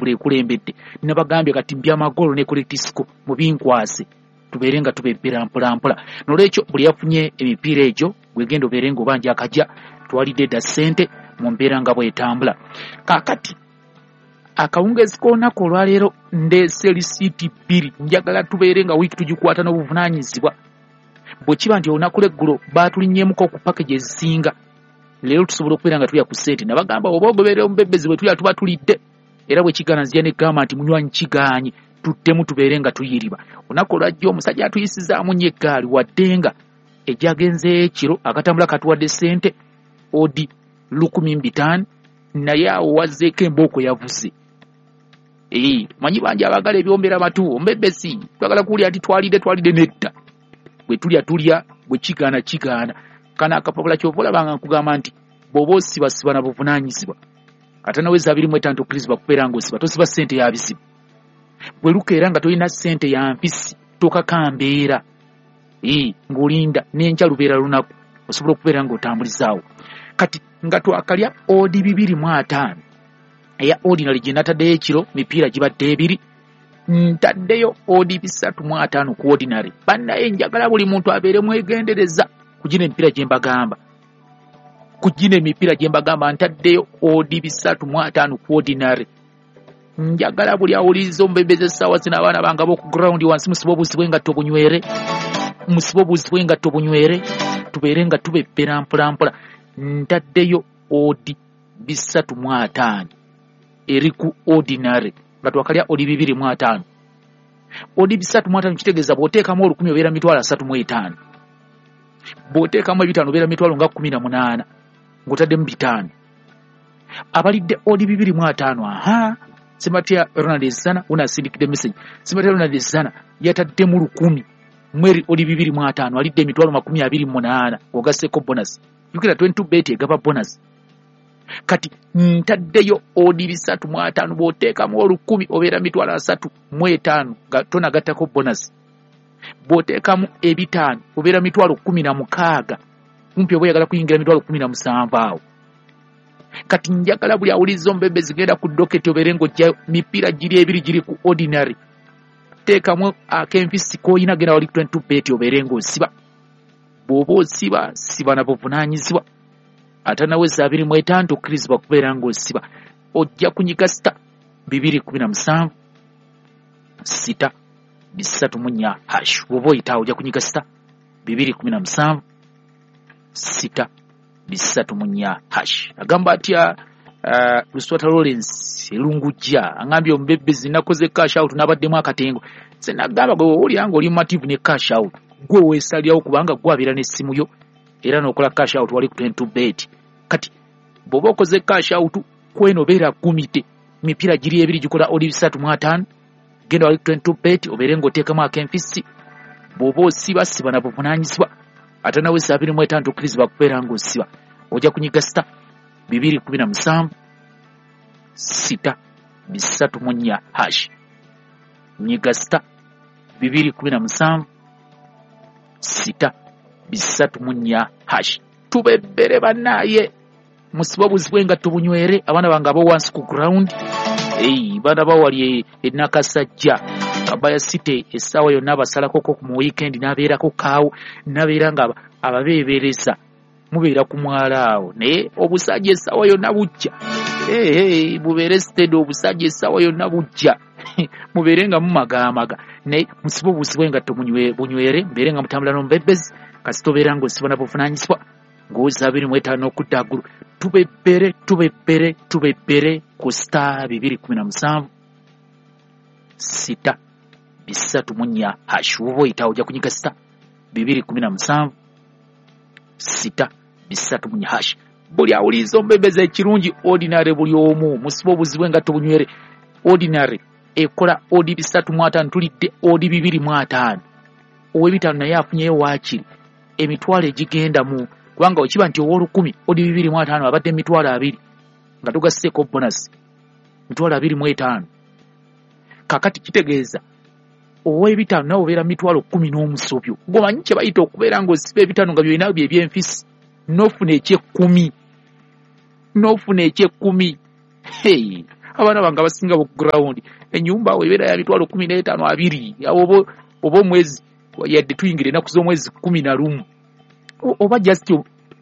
Middlesbrough ekulembedde. Nabagambye kati mbyamagolo ne correct score mu binkwase, tubeere nga tubebbera mpolampola. Nolwekyo buli yafunye emipiira egyo gwegenda obeere nga obanja akajja twalidde dda ssente mu mbeera nga bwetambula. Kaakati akawungezi k'olunaku olwaleero ndeese lisiiti 2. Njagala tubeere nga wiiki tugikwata n'obuvunaanyizibwa. Bwe kiba nti olunaku lw'eggulo baatulinnyemuko ku package ezisinga, leero tusobola okubeera nga tulya ku ssente. Nabagamba oba ogoberera omubebezi bwe tulya tuba tulidde, era bwe kigaana nzija negamba nti munywanyi kigaanyi, tuddemu tubeere nga tuyiriba. Olunaku olwajja omusajja atuyisizaamu nnyo eggaali, wadde nga ejjagenzeeyo ekiro akatambula katuwadde ssente odi 1,005, naye awo wazzeeko embooko yavuze. Manyi bangi abaagala ebyombera matu, omubebezi twagala kuwulira nti twalidde twalidde, nedda. Bwe tulya tulya, bwe kigaana kigaana. Kano akapapula ky'ova olabanga nkugamba nti bw'oba osibasiba na buvunaanyizibwa, ate naweza 25 tokkirizibwa kubeera ng'osiba, tosiba ssente ya bizibu. Bwe lukeera nga tolina ssente ya mpisi, tokaka mbeera. Ng'olinda n'enkya lubeera lunaku, osobola okubeera ng'otambulizaawo. Kati nga twakalya odi 205 eya ordinary gye nataddeyo ekiro, mipiira gibadde ebiri, ntaddeyo odi 305 ku ordinary. Bannaye njagala buli muntu abeere mwegendereza ku gino emipiira gye mbagamba. Ku gino emipiira gye mbagamba ntaddeyo odi 305 ku ordinary. Njagala buli awuliriza omubembezi essaawa zino, abaana bange ab'oku ground wansi musibe obuzi bw'engatto bunywere, musibe obuzi bw'engatto bunywere, tubeere nga tubebbera mpola mpola. Ntaddeyo odi 305 eri ku ordinary nga twakalya odi 205. Odi 305 kitegeeza bw'oteekamu olukumi obeera mitwalo asatu mu etaano, bw'oteekamu ebitaano obeera mitwalo nga 18 ng'otaddemu 5. Abalidde odi 205, aha, Simatya Ronald Zana unasindikidde message. Simatya Ronald Zana yataddemu 1000 mweri odi 205, alidde emitwalo 28 ogasseko bonus. Jjukira 22 bet egaba bonus. Kati ntaddeyo odi 305, bw'oteekamu olukumi obeera mitwalo asatu mu etaano nga tonagattako bonus. Bw'oteekamu ebitaano obeera mitwalo 16, kumpi oba oyagala kuyingira mitwalo 17 awo. Kati njagala buli awuliriza omubembezi genda ku doketi obeere ng'ojjayo mipiira giri ebiri giri ku ordinary. Teekamu ak'enfisi k'oyina, genda wali 22 bet obeere ng'osiba. Bw'oba osiba, siba na buvunaanyizibwa. Ate naweza 25 tokkirizibwa kubeera ng'osiba. Ojja kunyiga sita 217 6 304 hash. Bw'oba oyitaawo ojja kunyiga sita 217 6 304 hash. Agamba atya Luswata Lawrence Elungujja angambye omubebezi nakoze cash out n'abaddemu akatengo. Nze nagamba gwe owulira ng'oli mumativu ne cash out, gwe weesalirawo kubanga gwe abeera n'essimu yo era n'okola cash out wali ku 22 bet. Kati bw'oba okoze cash out kweno obeera gumite, mipiira giri ebiri gikola odi 305, genda wali ku 22 bet obeere ng'oteekamu ak'enfisi. Bw'oba osiba siba na buvunaanyizibwa, ate naweza 25 tokkirizibwa kubeera ng'osiba. Ojja kunyiga sita 217 6 304 hash. Nyiga sita 217 6 304 hash. Tubebbere bannaaye, musibe obuzi bw'engatto bunywere, abaana bange abo wansi ku ground. Baana bawali e Nakasajja Kabaya City essaawa yonna abasalakoko mu weekend n'abeerako kaawo, n'abeera nga ababeebereza mubeera ku mwala awo, naye obusajja essaawa yonna bujja. Bubeere steady, obusajja essaawa yonna bujja. Mubeere nga mumagaamaga, naye musibe obuzi bw'engatto bunywere, mubeere nga mutambula n'omubebezi. Kasita obeera ng'osiba na buvunaanyizibwa ng'oweza 25 okudda waggulu. Tubebbere tubebbere tubebbere ku star 217 6 304 hash. Woba oyitawo ojja kunyiga sita 217 6 304 hash. Buli awuliriza omubebezi ekirungi ordinary buli omu musibe obuzi bw'engatto bunywere. Ordinary ekola odi 305, tulidde odi 205. Ow'ebitaano naye afunyeyo waakiri emitwalo egigenda mu, kubanga wekiba nti ow'olukumi odi 205 abadde emitwalo 20 nga tugasseeko bonus mitwalo 25. Kaakati kitegeeza ow'ebitaano nawe obeera mitwalo 10 n'omusobyo. Gw'omanyi kye bayita okubeera ng'osiba ebitaano nga byolina bye by'enfisi, n'ofuna eky'ekkumi, n'ofuna eky'ekkumi. Hey, Abaana bange abasinga bo ground ennyumba ebeera ya mitwalo 15 20 oba omwezi yadde tuyingira ennaku z'omwezi 11 oba just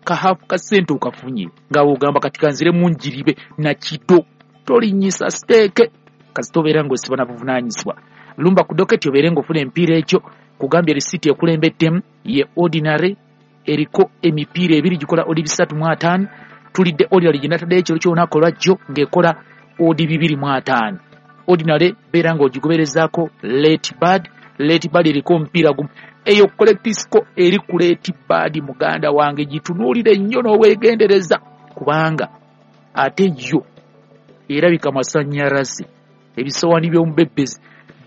ka half ka ssente okafunye nga ogamba kati kanzire munjiribe nakido tolinyisa stake kasita obeera ng'osiba na buvunaanyizibwa. Lumba ku doketi obeere ng'ofuna emipiira ekyo kugambye risiti ekulembeddemu ye ordinary eriko emipiira ebiri gikola odi 350. Tulidde ordinary gye nataddeyo ekiro ky'olunaku olwajjo ng'ekola odi 250. Ordinary beera ng'ogigoberezaako late bad. Late bad eriko omupiira gumu. Eyo correct score eri ku late bad muganda wange gitunuulire nnyo n'obwegendereza kubanga ate yo erabika masannyalaze ebisowani by'omubebbezi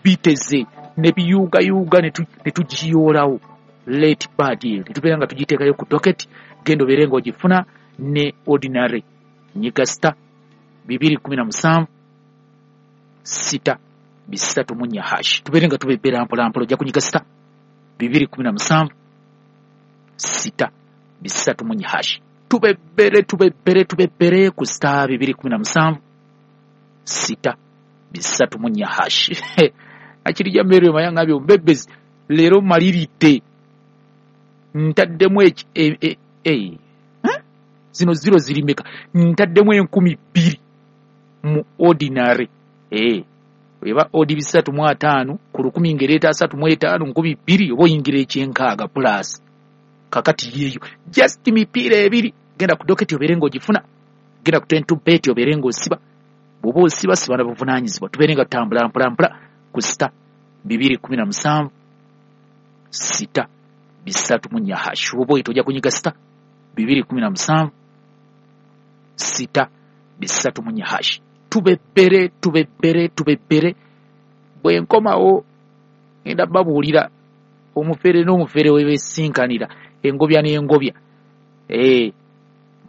biteze ne biyuugayuuga ne tugiyoolawo. Late bad eyo ne tubeera nga tugiteekayo ku docket genda obeere ng'ogifuna ne ordinary. Nyiga star 217 6 3 hash tubeere nga tubebbera mpola mpola. Ojja kunyiga star 217 6 3 hash tubebbere tubebbere tubebbere ku star 217 6 3 hash. Akirija Mary Mayanga byo mbebbezi leero maliridde ntaddemu zino zero ziri meka ntaddemu 2000 mu ordinary eba odi 350 ku 1000 ngereeta 35 2000 oba oyingira ekyenkaaga plus kakati yeeyo just mipiira ebiri. Genda ku doketi obeere ng'ogifuna, genda ku 22 bet obeere ng'osiba. Bw'oba osiba siba na buvunaanyizibwa. Tubeere nga tutambula mpola mpola ku star 217 6 3 hash. Oba oyita ojja kunyiga star 217 6 3 hash. Tubebbere tubebbere tubebbere. Bwe nkomawo ngenda babuulira omufere n'omufere we beesinkanira engobya n'engobya.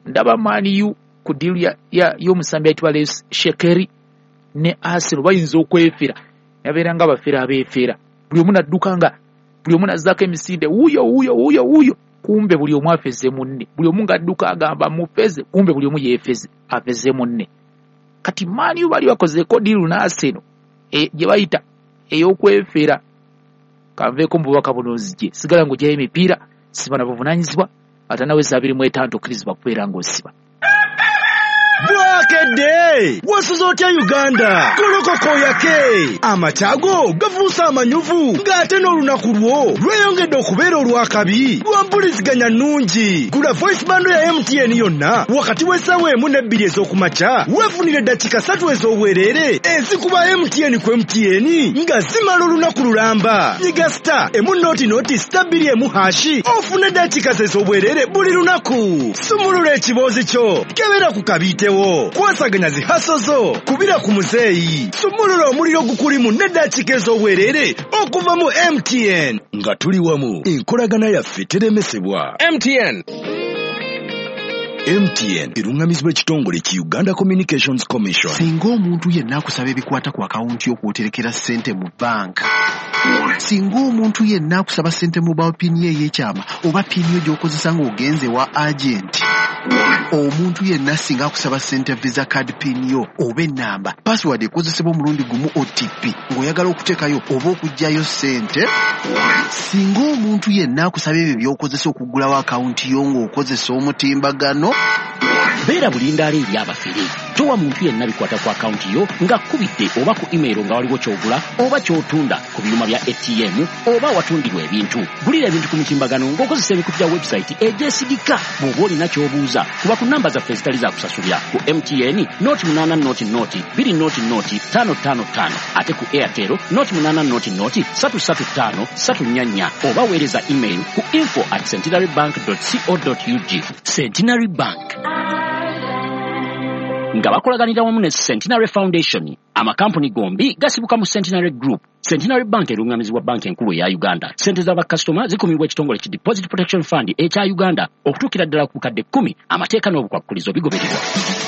Ndaba Man U ku deal y'omusambi ayitibwa Les Shekeri ne Arsenal bayinza okwefera yabeera nga abafere abeefera buli omu nadduka nga buli omu nazzaako emisinde wuuyo wuuyo wuuyo wuuyo kumbe buli omu afeze munne buli omu ng'adduka agamba mufeze kumbe buli omu yeefeze afeze munne. Kati Man U bali bakozeeko deal ne Arsenal gye bayita ey'okwefera. Kanveeko mu bubaka buno nzije sigala ng'ogyayo emipiira siba na buvunaanyizibwa ate nawe 25 okkirizibwa kubeera ng'osiba. Bwakedde wasuze otya Uganda golokokoyake amakyago gafuuse amanyuvu ng'ate n'olunaku lwo lweyongedde okubeera olwakabi lwa mpuliziganya nnungi. Gula voice bando ya MTN yonna wakati w'essaawa 1 ne 2 ez'okumakya weefunire eddakiika 3 ez'obwereere ezikuba MTN ku MTN nga zimala olunaku lulamba. Nyiga star 1 star 2 hashi ofune eddakiika ez'obwereere buli lunaku. Sumulula ekiboozi kyo kebera ku kabiitewo kwasaganya zihaso zo kubira ku muzeeyi sumulula omuliro gukulimu n'eddakiika ez'obwereere okuva mu MTN. Nga tuli wamu enkolagana yaffe teremesebwa. MTN. MTN eruŋŋamizibwa ekitongole ki Uganda Communications Commission. Singa omuntu yenna akusaba ebikwata ku akawunti y'okwoterekera ssente mu banka, singa omuntu yenna akusaba ssente mobile pin ye ey'ekyama oba pin yo gy'okozesa ng'ogenze wa agenti, omuntu yenna singa akusaba ssente visa card pin yo oba ennamba password ekozesebwa omulundi gumu OTP ng'oyagala okuteekayo oba okuggyayo ssente, singa omuntu yenna akusaba ebyo by'okozesa okuggulawo akawunti yo ng'okozesa omutimbagano, beera bulindaala eri abafere. Towa muntu yenna bikwata ku akawunti yo ng'akubidde oba ku email nga waliwo ky'ogula oba ky'otunda ku byuma bya ATM oba watundirwa ebintu. Gulira ebintu ku mutimbagano ng'okozesa emikutu gya website egyesigika. Bw'oba olina ky'obuuza kuba ku namba zaffe ezitali za kusasulira ku MTN 0800 0 200 555 ate ku Airtel 0800 335 344 oba weereza email ku info@centenarybank.co.ug. Centenary Bank nga bakolaganira wamu ne Centenary Foundation. Amakampuni gombi gasibuka mu Centenary Group. Centenary Bank erungamizibwa banka enkulu eya Uganda. Ssente z'abakasitoma zikumibwa ekitongole ki Deposit Protection Fund ekya Uganda okutuukira ddala ku bukadde 10. Amateeka n'obukwakkulizo bigobererwa.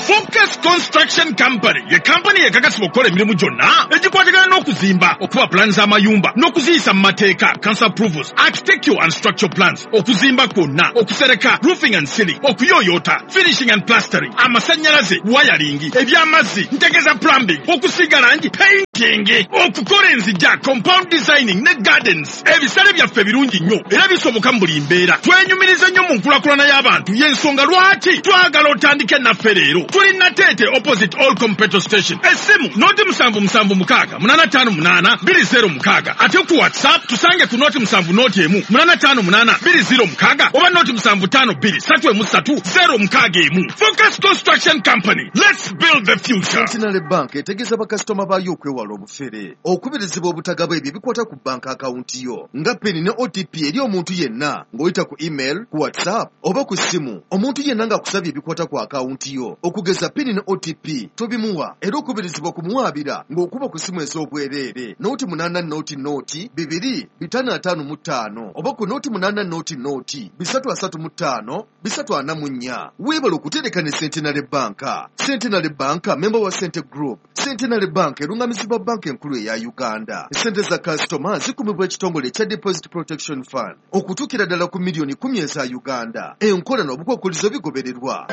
Focus Construction Company ye kampani ekakasibwa okukola emirimu gyonna egikwatagana n'okuzimba, okuba pulaani z'amayumba n'okuziyisa mu mateeka, council approvals, architectural and structural plans, okuzimba kwonna, okusereka, roofing and ceiling, okuyooyoota, finishing and plastering, amasannyalaze, wiring, eby'amazzi, ntegeeza plumbing, okusiiga langi, painting, okukola enzija, compound designing ne gardens. Ebisale byaffe birungi nnyo era bisoboka mu buli mbeera. Twenyumiriza nnyo mu nkulakulana y'abantu, y'ensonga lwaki twagala otandike naffe leero. Tuli Nateete opposite All Petrol Station. Essimu 077 658 206. Ate ku WhatsApp tusange ku 07 01 858 206 oba 0752 313 061. Focus Construction Company. Let's build the future. Centenary Bank etegeeza bakasitoma baayo okwewala obufere, okubirizibwa obutagaba ebyo ebikwata ku banka akawunti yo nga PIN ne OTP eri omuntu yenna ng'oyita ku email, ku WhatsApp oba ku ssimu. Omuntu yenna ng'akusabye ebikwata ku akawunti yo okugeza PIN ne OTP tobimuwa, era okubirizibwa kumuwaabira ng'okuba ku ssimu ez'obwereere 080 0 2 555 oba ku 080 0 335 344. Weebale okutereka ne Centenary Bank. Centenary Bank member wa Sente Group. Centenary Bank erungamizibwa banka enkulu eya Uganda. Ssente za kasitoma zikumibwa ekitongole ekya Deposit Protection Fund okutuukira ddala ku miliyoni 10 eza Uganda. Enkola n'obukwakkulizo bigobererwa.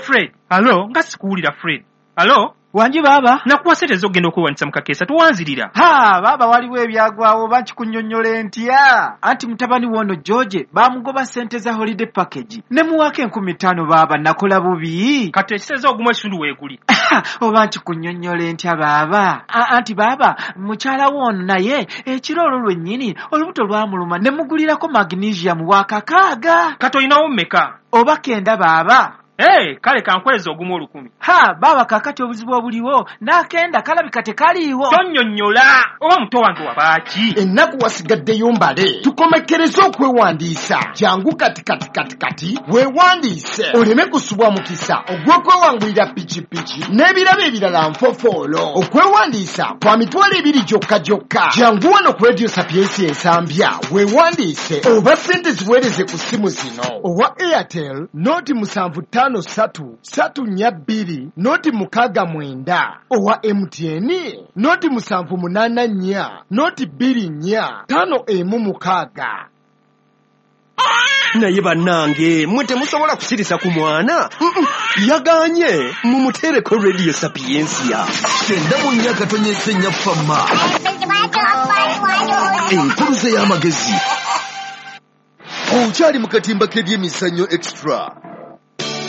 Fred, alo, nga sikuwulira Fred. Alo? Wangi baaba. Nakuwa ssente ez'okugenda okwewandiisa mu kakeesa, towanzirira. Ha, baaba waliwo ebyagwawo oba nkikunnyonnyola ntya? Anti mutabani w'ono George baamugoba ssente za holiday package. Ne muwaako 5,000 baaba, nakola bubi. Kati ekiseza ogumu ekitundu weeguli. Oba nkikunnyonnyola ntya baaba? Anti baaba, mukyala w'ono naye ekiro olwo lwennyini olubuto lwamuluma ne mugulirako magnesium wa 6. Kati olinawo mmeka? Oba 9 baaba. Hey, kale kankweza ogumu 1,000. Ha, baaba kakati obuzibu obuliwo n'akenda kalabika tekaliiwo. Tonnyonnyola oba muto wange wabaaki. Ennaku wasigaddeyo mbale, tukomekkereze okwewandiisa. Jangu kati kati kati kati weewandiise oleme kusubwa mukisa ogw'okwewangulira pikipiki n'ebirabo ebirala nfofoolo. Okwewandiisa kwa 20,000 gyokka gyokka. Jangu wano ku Radio Sapiensia Ensambya weewandiise oba ssente ziweereze ku ssimu zino: owa Airtel 075 3 3 4 2 069, owa MTN 078 4 024 516. Naye bannange mmwe temusobola kusirisa ku mwana. Yaganye mumuteereko Radio Sapiensia. 94.4 Fama. Enkuluze y'amagezi. Okyali mu katimba k'ebyemizannyo extra.